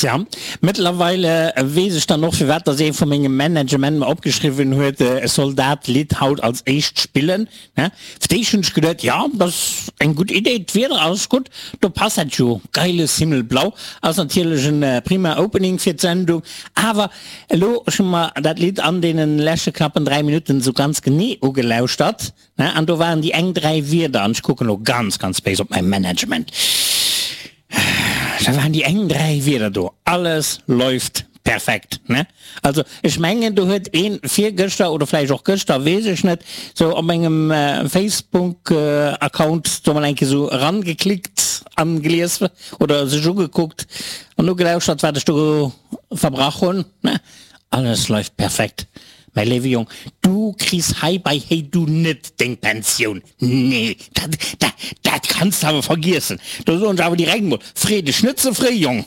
Tja, mëttlerweile weess ech dann och firwat dass ee vu mengem Management mer opgeschriwwen huet, ech soll dat Lidd haut als éischt spillen. Ne? Fir d'éischt hunn ech geduet, jo, dat ass eng gutt Idee, d'Wieder ass gutt, do passt dat jo, geiles Himmelblau ass natierlech en prima Opening fir d'Sendung. Awer elo, ech hu mer dat Lidd an deenen leschte knappen 3 Minutten esou ganz genee ugelauschtert, ne, an do waren déi eng 3 Wierder, an ech kucken elo ganz, ganz béis op mäi Management, Da waren déi eng 3 Wierder do, alles läuft perfekt, ne? Also ech mengen do huet een virgëschter oder vläicht och gëschter, weess ech net, sou op mengem Facebook Account do mol eng Kéier sou erangeklickt an gelies oder sech ugekuckt an ugelauschert wat ech do verbrach hunn, ne? Alles läuft perfekt, mäi léiwe Jong, du kriss hei bei héi du net deng Pensioun. Nee, dat, dat, dat kanns de awer vergiessen. Do soen ech awer direkt mol, Free dech net ze fréi, Jong.